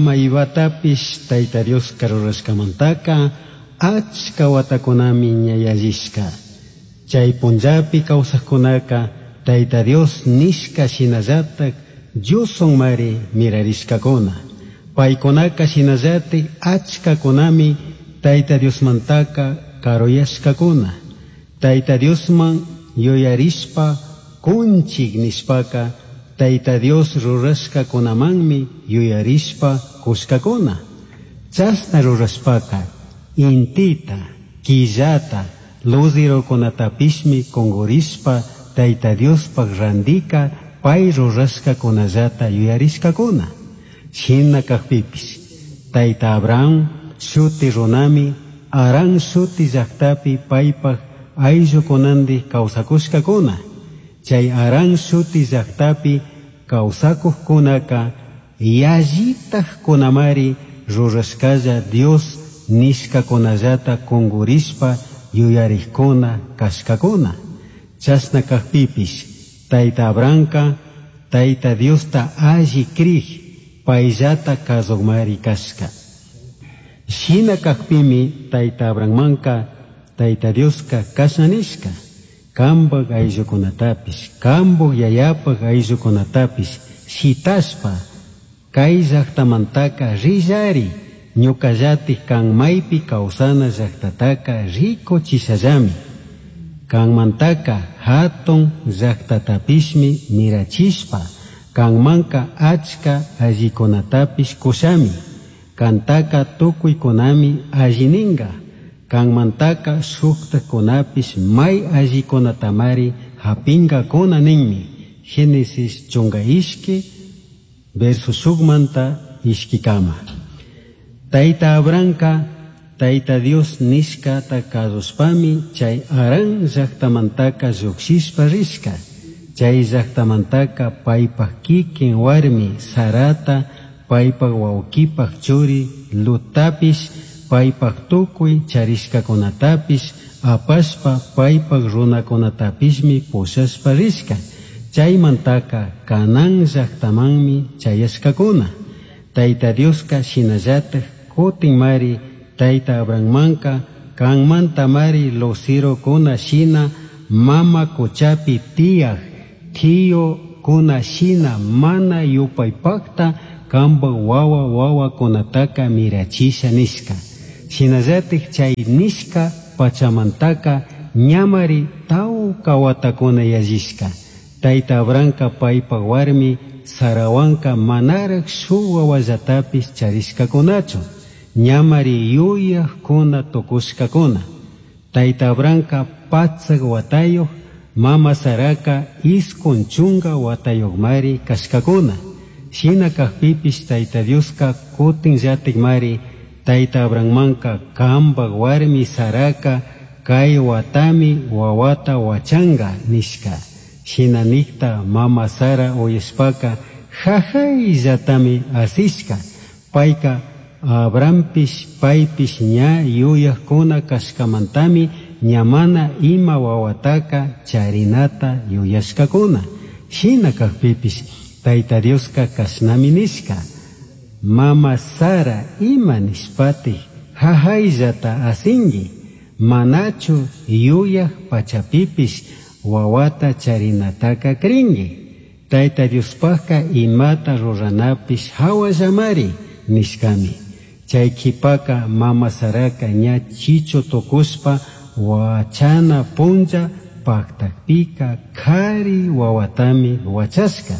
Maivatapish Taita Diosca rurashcamantaca achca huatacunami ña yallishca. Chai punllapi causajcunaca Taita Dios nishca shinallataj Dioshuanmari mirarishcacuna. Paicunaca shinallataj achcacunami Taita Diosmantaca caruyashcacuna. Taita Diosman yuyarishpa cunchij nishpaca Taita Dios rurashcacunamanmi yuyarishpa cushcacuna. Chashna rurashpaca intita, quillata, luzerocunatapishmi cungurishpa Taita Diospaj randica pai rurashcacunallata yuyarishcacuna. Shina cajpipish Taita Abraham shuti runami Harán shuti llajtapi paipaj ayllucunandij causacushcacuna. Chai Harán shuti llajtapi causacujcunaca yallitajcunamari rurashcalla Dios nishcacunallata cungurishpa yuyarijcuna cashcacuna. Chashna cajpipish Taita Abrahamca Taita Diosta alli crij paillata cazujmari cashca. Shina cajpimi Taita Abrahammanca Taita Diosca cashna nishca: Cambaj ayllucunatapish, cambaj yayapaj ayllucunatapish shitashpa cai llajtamantaca rillari, ñucallataj can maipi causana llajtataca ricuchishallami. Canmantaca jatun llajtatapishmi mirachishpa, canmanca achca allicunatapish cushami. Cantaca tucuicunami alli ninga. Canmantaca shujtajcunapish mai allicunatamari japingacuna ninmi. Génesis chunga ishqui, verso shujmanta ishquicama. Taita Abrahamca Taita Dios nishcata cazushpami chai Harán llajtamantaca llujshishpa rishca. Chai llajtamantaca paipaj quiquin huarmi Sarata, paipaj huauquipaj churi Lottapish, paipaj tucui charishcacunatapish apashpa paipaj runacunatapishmi pushashpa rishca. Chaimantaca Canaán llajtamanmi chayashcacuna. Taita Diosca shinallataj cutinmari Taita Abrahammanca canmantamari luzerocuna shina mama cuchapi tiyaj tiyucuna shina mana yupaipajta cambaj huahua huahuacunataca mirachisha nishca. Shinallataj chai nishca pachamantaca ñamari tauca huatacuna yallishca. Taita Abrahamca paipaj huarmi Sarahuanca manaraj shuj huahuallatapish charishcacunachu. Ñamari yuyajcuna tucushcacuna. Taita Abrahamca patsaj huatayuj, mama Saraca iscun chunga huatayujmari cashcacuna. Shina cajpipish Taita Diosca cutinllatajmari Taita Abrahammanca cambaj huarmi Saraca cai huatami huahuata huachanga nishca. Shina nijta mama Sara uyashpaca jajaillatami asishca. Paica Abrahampish paipish ña yuyajcuna cashcamantami ña mana ima huahuataca charinata yuyashcacuna. Shina cajpipish Taita Diosca cashnami nishca: Mama Sara ima nishpatij jajaillata asingui, manachu yuyaj pachapipish huahuata charinataca cringui. Taita Diospajca imata ruranapish jahuallamari nishcami. Chai quipaca mama Saraca ña chichu tucushpa huachana punlla pajtajpica cari huahuatami huachashca.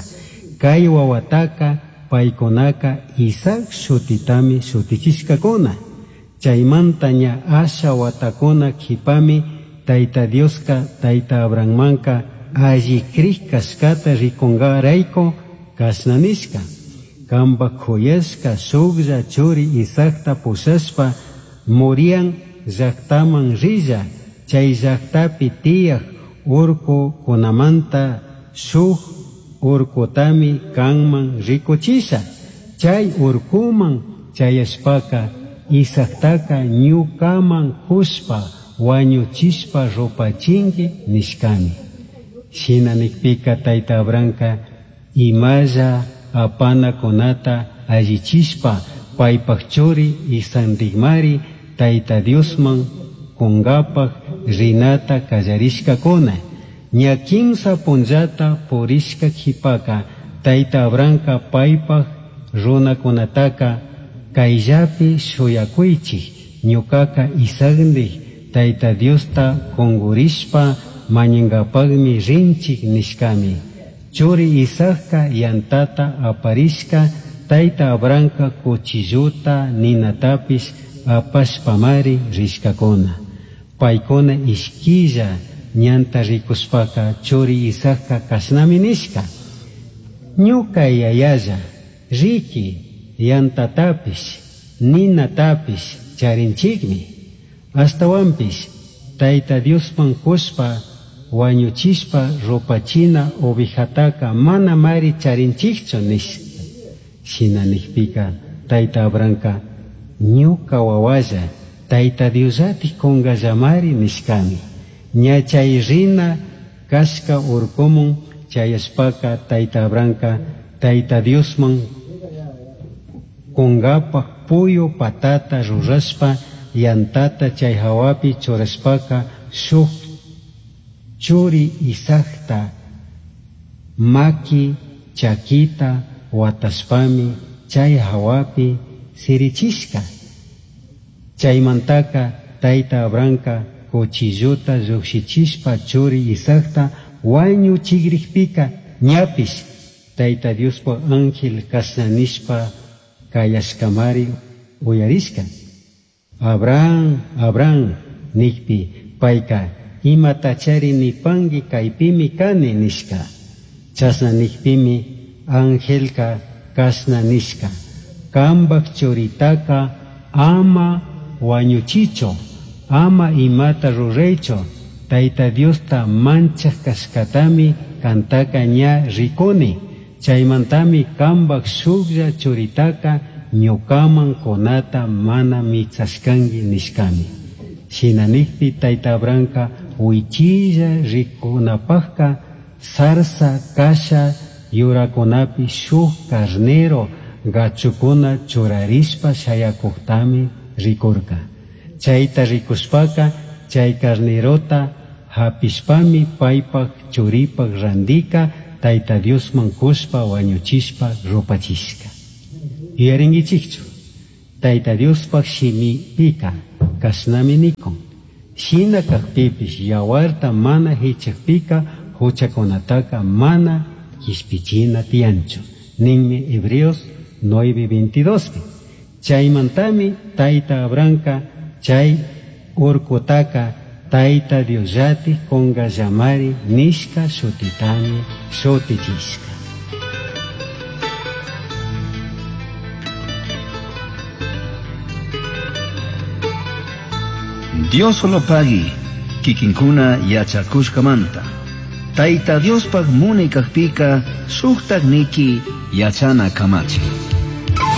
Cai huahuataca paicunaca Isaac shutitami shutichishcacuna. Chaimanta ña asha huatacuna quipami Taita Diosca Taita Abrahammanca alli crij cashcata ricungaraicu cashna nishca: Cambaj cuyashca shujlla churi Isaacta pushashpa Morián llajtaman rilla, chai llajtapi tiyaj urcucunamanta shuj urcutami canman ricuchisha. Chai urcuman chayashpaca Isaactaca ñucaman cushpa huañuchishpa rupachingui nishcami. Shina nijpica Taita Abrahamca imalla apanacunata allichishpa paipaj churi Isaacndijmari Taita Diosman cungapaj rinata callarishcacuna. Ña quimsa punllata purishca quipaca Taita Abrahamca paipaj runacunataca caillapi shuyacuichij, ñucaca Isaacndij Taita Diosta cungurishpa mañangapajmi rinchij nishcami. Churi Isaacca yantata aparishca Taita Abrahamca cuchilluta ninatapish apashpamari rishcacuna. Paicuna ishquilla ñanta ricushpaca churi Isaacca cashnami nishca: Ñuca yayalla, riqui, yantatapish, ninatapish charinchikmi. Ashtahuanpish Taita Diosman cushpa huañuchishpa rupachina ovejataca manamari charinchikchu nishca. Shina nijpica Taita Abrahamca ñuca huahualla, Taita Diosllatik cungallamari nishcami. Ña chay rina cashca urcumun chayashpaca Taita Abrahamca Taita Diosman cungapaj puyu patata rurashpa yantata chay jahuapi churashpaca shuj churi Isaacta maqui chaquita huatashpami chay jahuapi sirichishca. Chaymantaka Taita Abrahamca cuchilluta llujshichishpa churi Isaacta huañuchigrijpica ñapish Taita Diospaj ángel cashna nishpa cayashcamari uyarishca. Abraham, Abraham, nijpi paica imatachari nipangui caipimi cani nishca. Chashna nijpimi angelca cashna nishca: Cambaj churitaca ama huañuchichu, ama imata ruraichu, Taita Diosta manchaj cashcatami cantaca ña ricuni. Chaymantami cambaj shujlla churitaca ñucaman cunata mana mitsashcangui nishcami. Shina nijpi Taita Abrahamca huichilla ricunapajca zarza casha yuracunapi shuj carnero gachucuna churarishpa shayacujtami ricurca. Chaita ricushpaca chay carnerota japishpami paipaj churipaj randica Taita Diosman cushpa huañuchishpa rupachishca. Yuyaringuichikchu, Taita Diospaj shimipica cashnami nikun: Shina cajpipish yahuarta mana jichajpica juchacunataca mana quishpichina tiyanchu, ninmi Hebreos 9:22pi. Chaymantami Taita Abrahamca chay urcutaca Taita Diosllatik cungallamari nishca shutitami shutichishca. Dios lo pagui, kikinkuna yachakushkamanta. Taita Diospaj munay kajpika shuktak niki yachana kamachi.